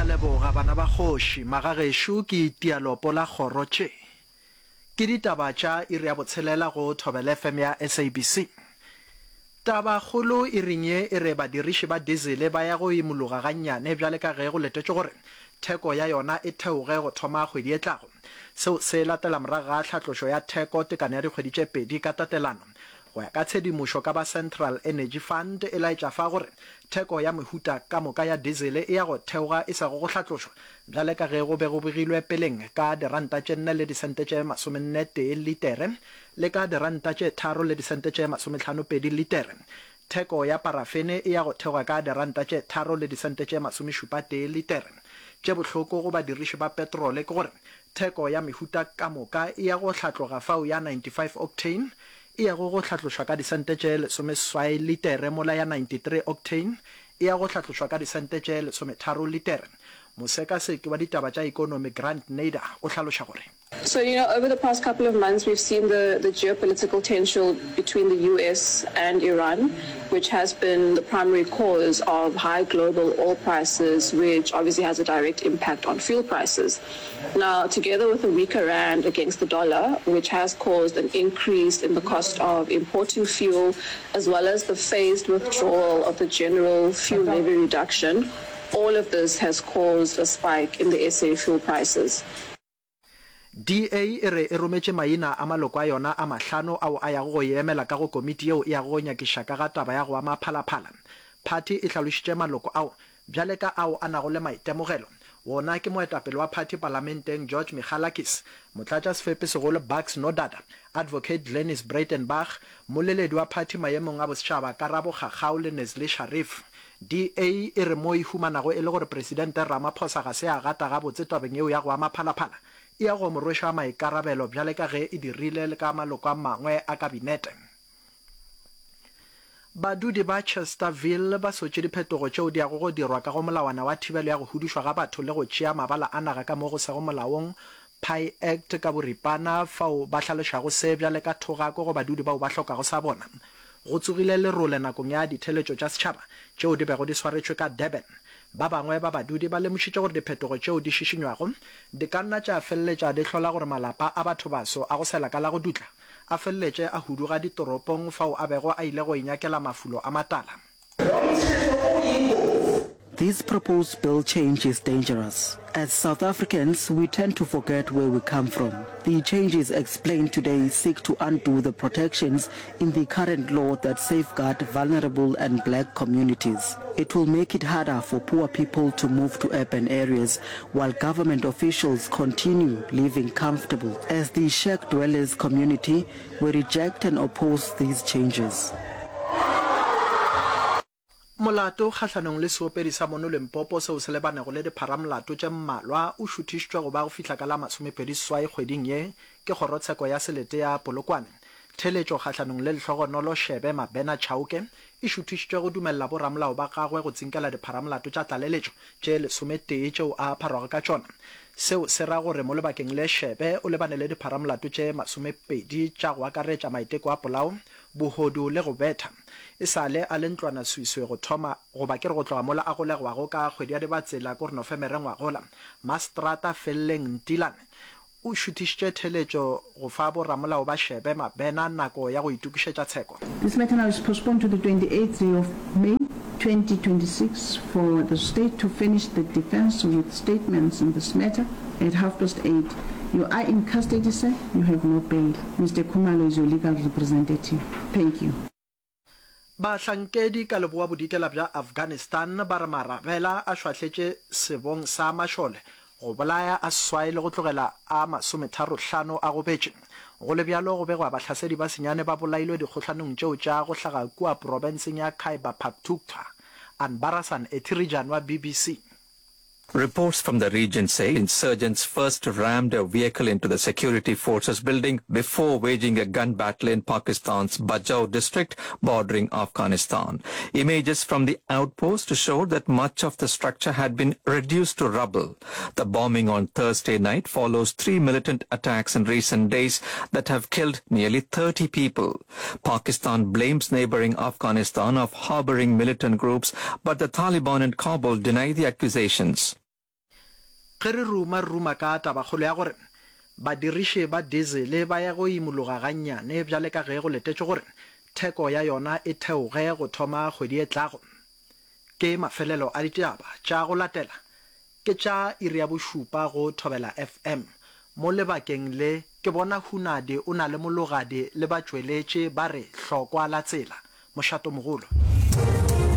leboga bana ba kgoši. Magagešo ke itia lopo la kgoro tše. Ke ditaba tša iri ya botshelela go Thobela FM ya SABC. Tabakgolo iring ye e re badiriši ba dizele ba ya go imologa gannyane bjale ka ge go letetšwe gore theko ya yona e theoge go thoma kgwedi e tlago. Seo se latela morago ga tlhatlošo ya theko tekano ya dikgwedi tše pedi ka tatelano. Go ya ka tshedimošo ka ba Central Energy Fund e laetša fa gore theko ya mehuta ka moka ya dizele e ya go theoga e sego go hlatlošwa bjale ka ge go be go begilwe peleng ka diranta tše nne le disente tše masomenne tee litere le ka diranta tše tharo le disente tše masometlhano-pedi litere. Theko ya parafene e ya go theoga ka diranta tše tharo le disente tše masomešupa-tee litere. Tše bohloko go badiriši ba petrole ke gore theko ya mehuta ka moka e ya go hlatloga fao ya 95 octane e yago go hlatlošwa ka disente tše lesomeseswai litere mola ya 93 octane e ya go hlatlošwa ka disente tše lesometharo litere. Mosekaseki wa ditaba tša ekonomi Grant Nader o hlaloša gore. So, you know, over the past couple of months we've seen the, the geopolitical tension between the US and Iran, which has been the primary cause of high global oil prices, which obviously has a direct impact on fuel prices. Now, together with a weaker rand against the dollar, which has caused an increase in the cost of importing fuel, as well as the phased withdrawal of the general fuel levy reduction, all of this has caused a spike in the SA fuel prices. DA e re e rometše maina a maloko a yona a mahlano ao a yago go e emela ka go komiti yeo e yago go nyakiša ka ga taba ya go ama Phalaphala. Phathi e hlalošitše maloko ao bjale ka ao a nago le maitemogelo. Wona ke moetapele wa phathi palamenteng George Michalakis, motlatšasefepi-segolo Bucks Nodada, Advocate Glynnis Breytenbach, mmoleledi wa phathi maemong a bosetšhaba Karabo Kgakgao le Nazley Sharif. DA e re mo e humanago e le gore Presidente Ramaphosa ga se a gata gabotse tabeng yeo ya go ama Phalaphala, e ya go mo rweša maikarabelo bjale ka ge e dirile le ka maloko a mangwe a kabinete. Badudi ba Chesterville ba sotše diphetogo tšeo di yago go dirwa ka go molawana wa thibelo ya go hudušwa ga batho le go tšea mabala a naga ka mo go sego molaong, Pie Act ka boripana, fao ba hlalošago se bjale ka thogako go badudi bao ba hlokago sa bona. Go tsogile lerole nakong ya ditheeletšo tša setšhaba tšeo di bego di swaretšwe ka Durban. Ba bangwe ba badudi ba lemošitše gore diphetogo tšeo di šišinywago di ka nna tša feleletša di hlola gore malapa a bathobaso a go sela ka la go dutla a feleletše a huduga ditoropong fao a bego a ile go inyakela mafulo a matala. This proposed bill change is dangerous. As South Africans, we tend to forget where we come from. The changes explained today seek to undo the protections in the current law that safeguard vulnerable and black communities. It will make it harder for poor people to move to urban areas while government officials continue living comfortable. As the shack dwellers community, we reject and oppose these changes. Molato kgahlanong le seopedi sa mono Limpopo seo se lebanego le dipharamolato tše mmalwa o šuthišitšwe go ba go fihla ka la 28 kgweding ye ke kgorotsheko ya selete ya Polokwane. Theeletšo kgahlanong le Lehlogonolo Shebe Mabena Chauke e šuthišitšwe go dumelela boramolao ba gagwe go tsinkela dipharamolato tša tlaleletšo tše lesometee tšeo a pharwago ka tšona. Seo se ra gore mo lebakeng le Shebe o lebane le dipharamolato tše masomepedi tša go akaretša maiteko a polao, bohodu le go betha. E sa le a le ntlwanaswiswi go thoma, goba ke re go tloga mola a golegwago ka kgwedi ya Dibatsela ko re Nofemere ngwagola, Maseterata Felleng Ntilane o šuthišitše theeletšo go fa boramolao ba Shebe Mabena nako ya go itokišetša tsheko. This matter now is postponed to the 28th day of May 2026 for the state to furnish the defence with statements in this matter at half past eight. You are in custody sir, you have no bail. Mister Khumalo is your legal representative. Thank you. Bahlankedi ka leboa-bodikela bja Afghanistan ba re marabela a šwahletše sebong sa mašole go bolaya a seswai le go tlogela a masometharo-hlano a gobetše. Go le bjalo, go begwa bahlasedi ba senyane ba bolailwe dikgohlanong tšeo tša go hlaga kua profenseng ya Khyber Pakhtunkhwa. Anbarasan Ethirijan wa BBC. Reports from the region say insurgents first rammed a vehicle into the security forces building before waging a gun battle in Pakistan's Bajaur district bordering Afghanistan. Images from the outpost showed that much of the structure had been reduced to rubble. The bombing on Thursday night follows three militant attacks in recent days that have killed nearly 30 people. Pakistan blames neighboring Afghanistan of harboring militant groups, but the Taliban in Kabul deny the accusations. Ge re ruma, re ruma ka tabakgolo ya gore badiriši ba dizele ba ya go imologa gannyane bjale ka ge go letetšwe gore theko ya yona e theoge go thoma kgwedi e tlago. Ke mafelelo a ditaba tša go latela ke tša iri ya bošupa go Thobela FM. Mo lebakeng le ke bona Hunadi o na le Mologadi le batšweletši ba re hlokwa la tsela. Mošatomogolo.